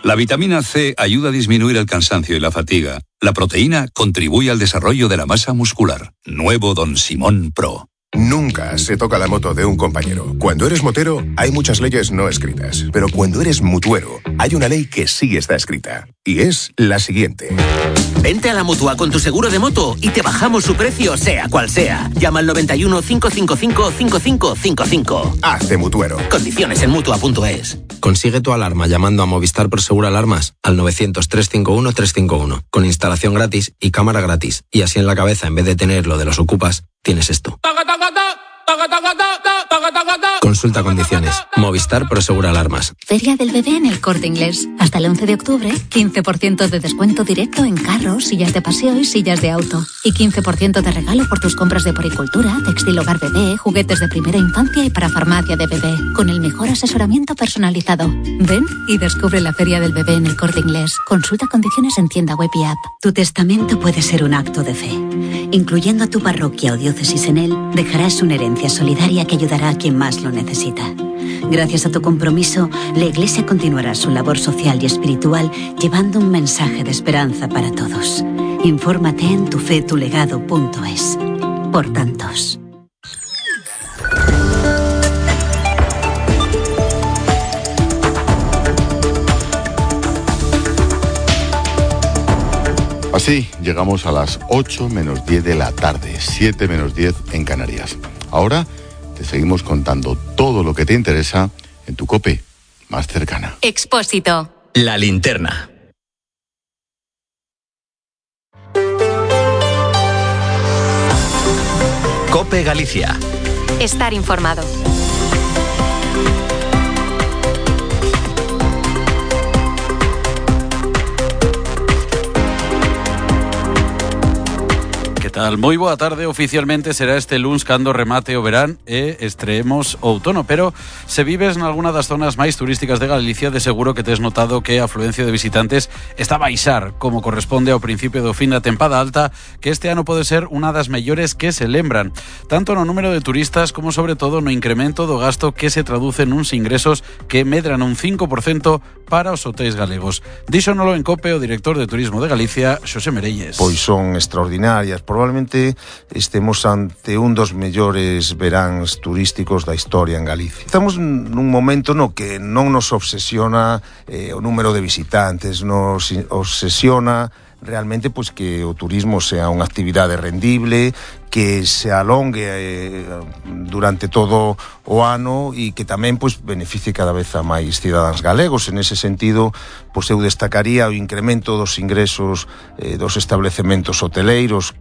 La vitamina C ayuda a disminuir el cansancio y la fatiga. La proteína contribuye al desarrollo de la masa muscular. Nuevo Don Simón Pro. Nunca se toca la moto de un compañero. Cuando eres motero, hay muchas leyes no escritas. Pero cuando eres mutuero, hay una ley que sí está escrita. Y es la siguiente. Vente a la Mutua con tu seguro de moto y te bajamos su precio, sea cual sea. Llama al 91 555 5555. Hazte mutuero. Condiciones en Mutua.es. Consigue tu alarma llamando a Movistar Prosegur Alarmas al 900 351 351. Con instalación gratis y cámara gratis. Y así en la cabeza, en vez de tener lo de los ocupas, tienes esto. Consulta condiciones. Movistar Prosegur Alarmas. Feria del Bebé en El Corte Inglés. Hasta el 11 de octubre, 15% de descuento directo en carros, sillas de paseo y sillas de auto. Y 15% de regalo por tus compras de poricultura, textil hogar bebé, juguetes de primera infancia y para farmacia de bebé. Con el mejor asesoramiento personalizado. Ven y descubre la Feria del Bebé en El Corte Inglés. Consulta condiciones en tienda web y app. Tu testamento puede ser un acto de fe. Incluyendo a tu parroquia o diócesis en él, dejarás una herencia solidaria que ayudará a quien más lo necesita. Gracias a tu compromiso, la Iglesia continuará su labor social y espiritual llevando un mensaje de esperanza para todos. Infórmate en tufetulegado.es. Por tantos. Así llegamos a las 8 menos 10 de la tarde, 7 menos 10 en Canarias. Ahora te seguimos contando todo lo que te interesa en tu COPE más cercana. Expósito. La linterna. COPE Galicia. Estar informado. Tal? Moi boa tarde. Oficialmente será este luns cando remate o verán e estreemos o outono, pero se vives nalguna das zonas máis turísticas de Galicia, de seguro que tes notado que a afluencia de visitantes está a baixar, como corresponde ao principio do fin da tempada alta, que este ano pode ser unha das mellores que se lembran, tanto no número de turistas como sobre todo no incremento do gasto que se traduce nuns ingresos que medran un 5% para os hotéis galegos. Díxonolo en COPE o director de Turismo de Galicia, Xosé Merelles. Pois son extraordinarias. Probablemente estemos ante un dos mellores veráns turísticos da historia en Galicia. Estamos nun momento no que non nos obsesiona o número de visitantes, nos obsesiona realmente pois que o turismo sea unha actividade rendible, que se alongue durante todo o ano e que tamén pois beneficie cada vez a máis cidadáns galegos. En ese sentido, pois eu destacaría o incremento dos ingresos dos establecementos hoteleiros.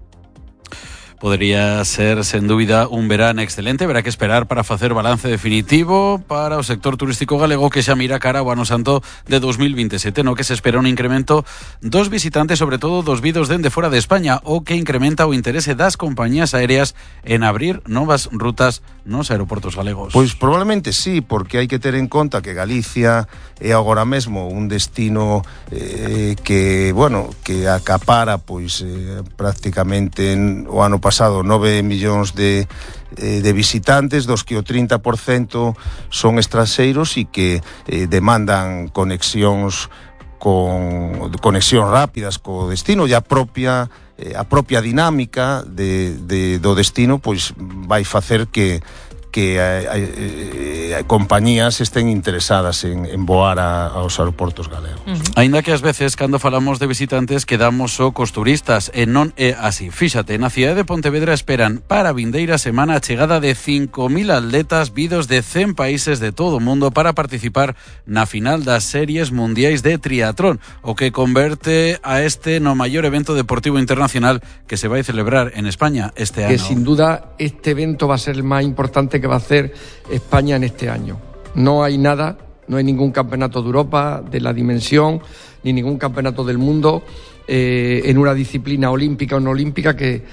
Podería ser, sen dúbida, un verán excelente. Verá que esperar para facer balance definitivo para o sector turístico galego que xa mira cara ao ano santo de 2027, no que se espera un incremento dos visitantes, sobre todo dos vidos dende fora de España, o que incrementa o interese das compañías aéreas en abrir novas rutas nos aeroportos galegos. Pois probablemente sí, porque hai que ter en conta que Galicia é agora mesmo un destino que acapara pois prácticamente o ano pasado 9 millóns de visitantes, dos que o 30% son estranxeiros e que demandan conexións rápidas co destino, e a propia dinámica do destino pois vai facer que compañías estén interesadas en voar aos aeroportos galegos. Aínda que ás veces, cando falamos de visitantes, quedamos só cos turistas, e non é así. Fíxate, na cidade de Pontevedra esperan para a vindeira semana a chegada de 5.000 atletas vidos de 100 países de todo o mundo para participar na final das series mundiais de triatlón, o que converte a este no maior evento deportivo internacional que se vai celebrar en España este ano. Que sin duda este evento va a ser el más importante que va a hacer España en este año. No hay nada, no hay ningún campeonato de Europa de la dimensión, ni ningún campeonato del mundo en una disciplina olímpica o no olímpica que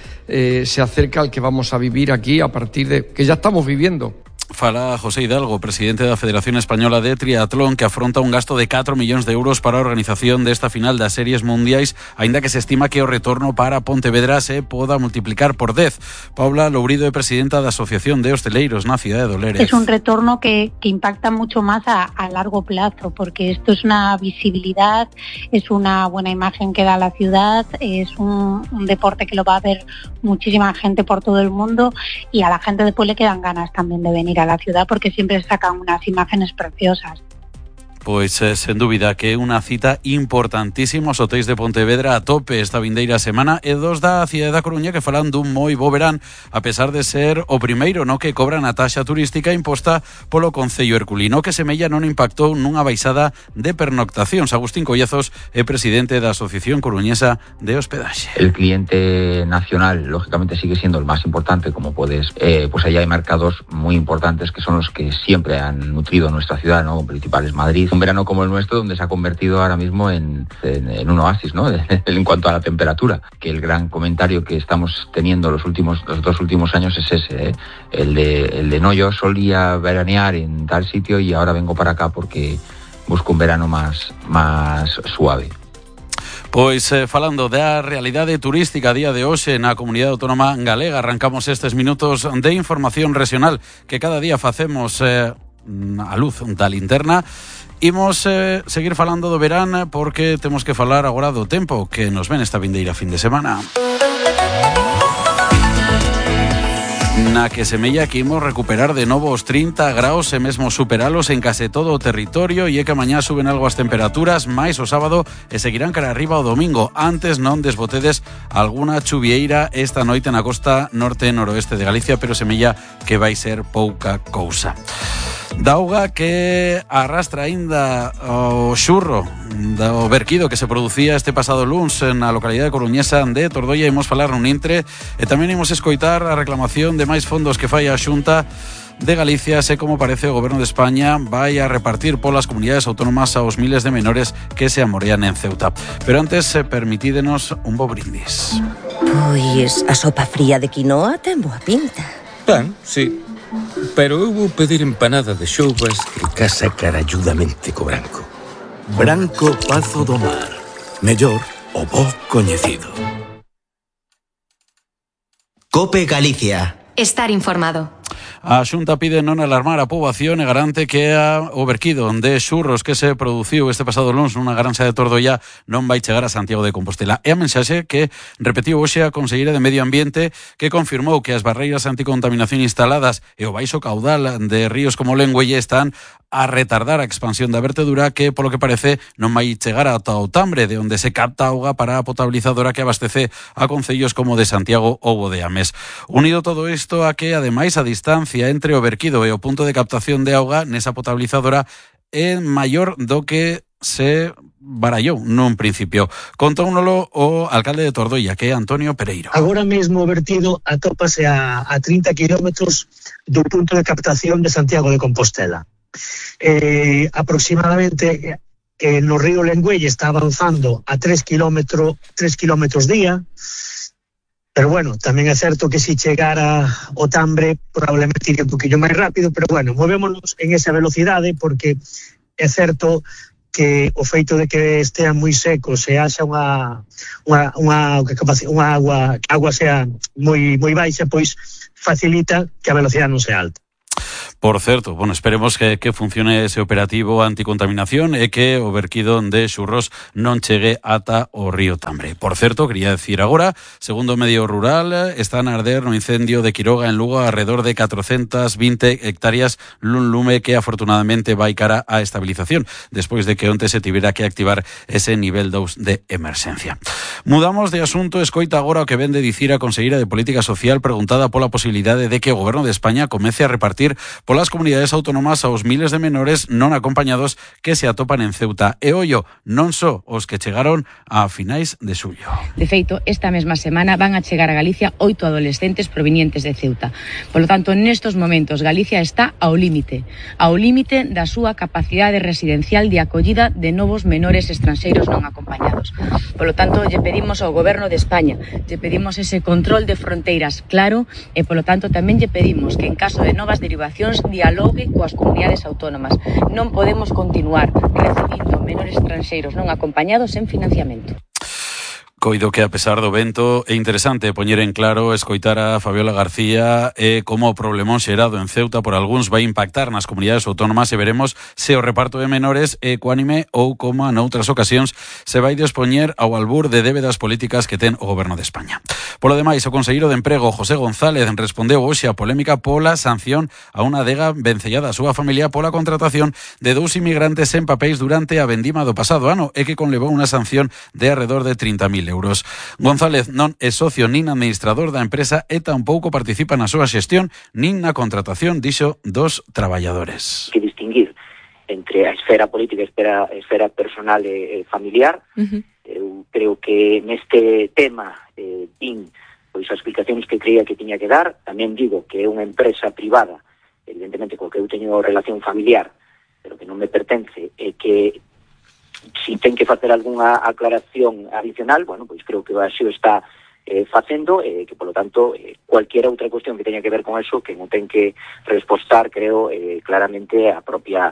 se acerca al que vamos a vivir aquí a partir de que ya estamos viviendo. Fala José Hidalgo, presidente da Federación Española de Triatlón, que afronta un gasto de 4 millóns de euros para a organización desta final das series mundiais, aínda que se estima que o retorno para Pontevedra se poda multiplicar por 10. Paula Lourido é presidenta da Asociación de Hosteleiros na cidade de Dolores. Es un retorno que impacta mucho más a largo plazo, porque esto es una visibilidad, es una buena imagen que da la ciudad, es un deporte que lo va a ver muchísima gente por todo el mundo, y a la gente después le quedan ganas también de venir a la ciudad porque siempre sacan unas imágenes preciosas. Pois, sen dúbida, que é unha cita importantísima. Os hotéis de Pontevedra a tope esta vindeira semana, e dos da cidade da Coruña que falan dun moi bo verán, a pesar de ser o primeiro no que cobran a taxa turística imposta polo Concello Herculino, que semella non impactou nunha baixada de pernoctacións. Agustín Collazos é presidente da Asociación Coruñesa de Hospedaxe. El cliente nacional, lógicamente, sigue siendo el más importante, como puedes, pues allá hay mercados muy importantes que son los que siempre han nutrido nuestra ciudad, ¿no? Principal es Madrid. Un verano como el nuestro, donde se ha convertido ahora mismo en un oasis, ¿no? En cuanto a la temperatura. Que el gran comentario que estamos teniendo los 2 últimos años es ese, ¿eh? El de no, yo solía veranear en tal sitio y ahora vengo para acá porque busco un verano más suave. Pois falando da realidade turística a día de hoxe na comunidade autónoma galega, arrancamos estes minutos de información regional que cada día facemos a luz da linterna. Imos seguir falando do verán porque temos que falar agora do tempo que nos ven esta vindeira fin de semana. Na que semella que imos recuperar de novo os 30 graus e mesmo superalos en case todo o territorio, e é que mañá suben algo as temperaturas máis o sábado e seguirán cara arriba o domingo. Antes non desbotedes alguna chuvieira esta noite na costa norte e noroeste de Galicia, pero semella que vai ser pouca cousa. Da auga que arrastra aínda o xurro do verquido que se producía este pasado luns na localidade coruñesa de Tordoia. Imos falar nun intre e tamén imos escoitar a reclamación de máis fondos que fai a Xunta de Galicia, se como parece o Goberno de España vai a repartir polas comunidades autónomas aos miles de menores que se amorean en Ceuta. Pero antes, permitídenos un bo brindis. Pois a sopa fría de quinoa ten boa pinta. Ben, sí. Pero eu vou pedir empanada de xoubas que casa caralludamente co branco. Branco Pazo do Mar. Mellor o bo coñecido. COPE Galicia. Estar informado. A Xunta pide non alarmar a poboación e garante que o verquido de xurros que se produciu este pasado luns nunha granxa de Tordoia non vai chegar a Santiago de Compostela. É a mensaxe que repetiu hoxe a conselleira de Medio Ambiente, que confirmou que as barreiras anticontaminación instaladas e o baixo caudal de ríos como o Lengüelle están a retardar a expansión da vertedura, que polo que parece non vai chegar ata o Tambre, de onde se capta auga para a potabilizadora que abastece a concellos como de Santiago ou de Ames. Unido todo isto a que, ademais, a distancia entre o verquido e o punto de captación de auga nesa potabilizadora é maior do que se barallou nun principio. Contóunolo o alcalde de Tordoia, que é Antonio Pereiro. Agora mesmo o vertido atópase a 30 kilómetros do punto de captación de Santiago de Compostela. Aproximadamente no río Lengüelle está avanzando a 3 kilómetros día, pero bueno, tamén é certo que se chegara ao Tambre probablemente iría un poquillo máis rápido, pero bueno, movémonos en esa velocidade porque é certo que o feito de que estea moi seco, se haxa unha agua sea moi baixa, pois facilita que a velocidade non sea alta. Por certo, bueno, esperemos que funcione ese operativo anticontaminación e que o verquido de xurros non chegue ata o río Tambre. Por certo, quería decir agora, segundo o medio rural, están a arder no incendio de Quiroga en Lugo alrededor de 420 hectáreas lun lume que afortunadamente vai cara á estabilización, despois de que onte se tivera que activar ese nivel 2 de emerxencia. Mudamos de asunto, escoita agora o que vende dicir a conselleira de Política Social preguntada pola posibilidade de que o Goberno de España comece a repartir polas comunidades autónomas aos miles de menores non acompañados que se atopan en Ceuta. E ollo, non só os que chegaron a finais de xullo. De feito, esta mesma semana van a chegar a Galicia 8 adolescentes provenientes de Ceuta. Por lo tanto, nestos momentos, Galicia está ao límite da súa capacidade residencial de acollida de novos menores estranxeiros non acompañados. Por lo tanto, lle pedimos ao Goberno de España, lle pedimos ese control de fronteiras claro e, por lo tanto, tamén lle pedimos que en caso de novas derivacións Gobernos dialogue coas comunidades autónomas. Non podemos continuar recibindo menores estranxeiros non acompañados en financiamento. Coido que, a pesar do vento, é interesante poñer en claro escoitar a Fabiola García como o problemón xerado en Ceuta por algúns vai impactar nas comunidades autónomas e veremos se o reparto de menores é ecuánime ou, como noutras ocasións, se vai dispoñer ao albur de débedas políticas que ten o Goberno de España. Polo demais, o conselleiro de Emprego, José González, respondeu hoxe a polémica pola sanción a unha adega vencellada a súa familia pola contratación de 2 inmigrantes en papéis durante a vendima do pasado ano e que conlevou unha sanción de alrededor de 30.000 euros. González non é socio nin administrador da empresa e tampouco participa na súa xestión nin na contratación, dixo, dos traballadores. Que distinguir entre a esfera política e a esfera personal e familiar. Eu creo que neste tema din pois as explicacións que creía que tiña que dar. Tamén digo que é unha empresa privada, evidentemente co que eu teño relación familiar, pero que non me pertence, e que si ten que facer algunha aclaración adicional, bueno, pois creo que así o está facendo, que polo tanto cualquier outra cuestión que teña que ver con eso, que non ten que respostar, creo, claramente a propia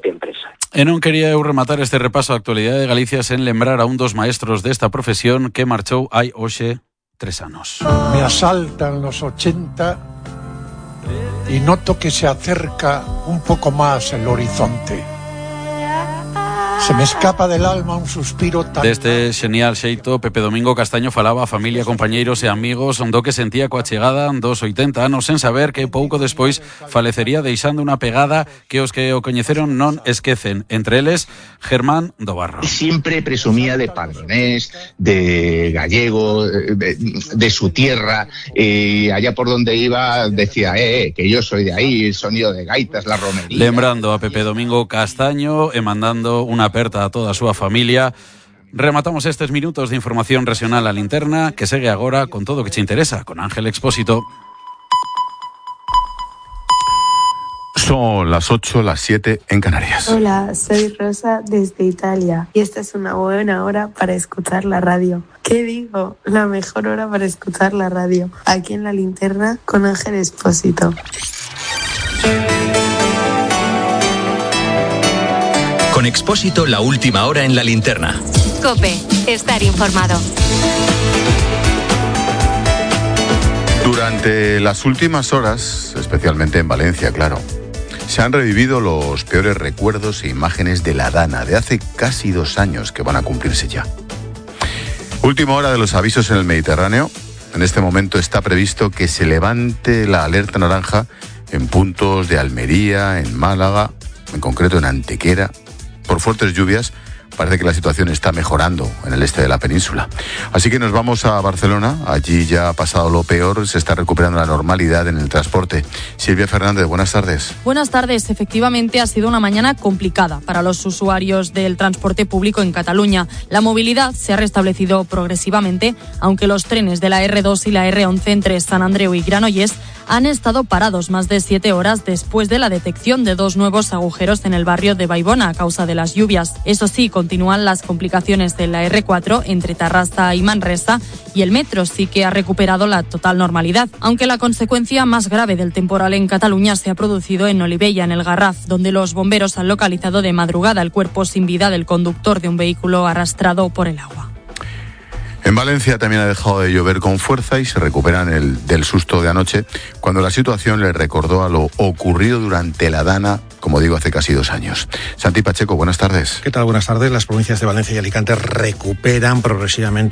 empresa. E non quería eu rematar este repaso á actualidade de Galicia sen lembrar a un dos maestros desta profesión que marchou hai hoxe 3 anos. Me asaltan los 80 y noto que se acerca un poco más el horizonte. Se me escapa del alma un suspiro tan... Deste xenial xeito, Pepe Domingo Castaño falaba a familia, compañeiros e amigos do que sentía coa chegada dos 80 anos sen saber que pouco despois falecería deixando unha pegada que os que o coñeceron non esquecen. Entre eles, Germán do Barro. Siempre presumía de pardonés, de gallego, de su tierra, y allá por donde iba decía, que yo soy de ahí, el sonido de gaitas, la romería. Lembrando a Pepe Domingo Castaño e mandando unha aperta a toda a súa familia. Rematamos estes minutos de información regional a linterna, que segue agora con todo o que te interesa, con Ángel Expósito. Son las 8, las 7 en Canarias. Hola, soy Rosa desde Italia y esta es una buena hora para escuchar la radio. ¿Qué digo? La mejor hora para escuchar la radio. Aquí en la linterna con Ángel Expósito. Con Expósito, la última hora en la linterna. COPE, estar informado. Durante las últimas horas, especialmente en Valencia, claro, se han revivido los peores recuerdos e imágenes de la Dana de hace casi 2 años que van a cumplirse ya. Última hora de los avisos en el Mediterráneo. En este momento está previsto que se levante la alerta naranja en puntos de Almería, en Málaga, en concreto en Antequera. Por fuertes lluvias, parece que la situación está mejorando en el este de la península. Así que nos vamos a Barcelona. Allí ya ha pasado lo peor, se está recuperando la normalidad en el transporte. Silvia Fernández, buenas tardes. Buenas tardes. Efectivamente, ha sido una mañana complicada para los usuarios del transporte público en Cataluña. La movilidad se ha restablecido progresivamente, aunque los trenes de la R2 y la R11 entre Sant Andreu y Granollers han estado parados más de 7 horas después de la detección de 2 nuevos agujeros en el barrio de Baibona a causa de las lluvias. Eso sí, continúan las complicaciones de la R4 entre Tarrasa y Manresa, y el metro sí que ha recuperado la total normalidad, aunque la consecuencia más grave del temporal en Cataluña se ha producido en Olivella, en el Garraf, donde los bomberos han localizado de madrugada el cuerpo sin vida del conductor de un vehículo arrastrado por el agua. En Valencia también ha dejado de llover con fuerza y se recuperan del susto de anoche, cuando la situación les recordó a lo ocurrido durante la Dana, como digo, hace casi 2 años. Santi Pacheco, buenas tardes. ¿Qué tal? Buenas tardes. Las provincias de Valencia y Alicante recuperan progresivamente